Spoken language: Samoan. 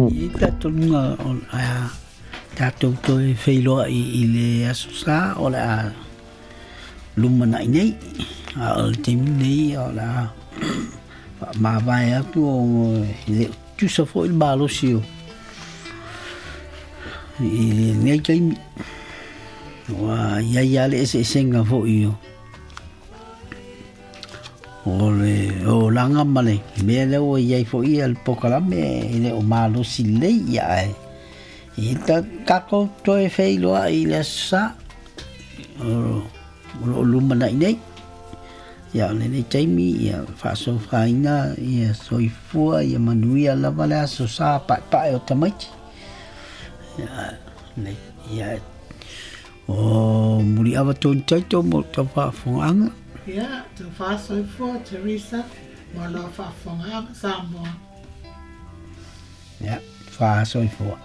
I talitonuga o le a tatou toe feiloai i le Aso Sa o le a lumanai nei, a o le taimi lenei o le a faamavae atu ona e le o tutusa foi le malosi o i lenei taimi. Ua i ai lava le eseesega foi o O le olaga ma le mea lea ua i ai foi le polokalame e le o malosi lelei, ia ae e tatou toe feiloai i le Aso Sa o lo o lumanai nei. Ia o lenei taimi ia faasofaina ia soifua ia manuia lava le Aso Sa paepae o tamaiti. Ia, ia O Muliava Tony Taito mo tau faafofogaaga. Ia, tau faasoifua Teresa mo lau faafofogaaga Samoa. Ia, faasoifua.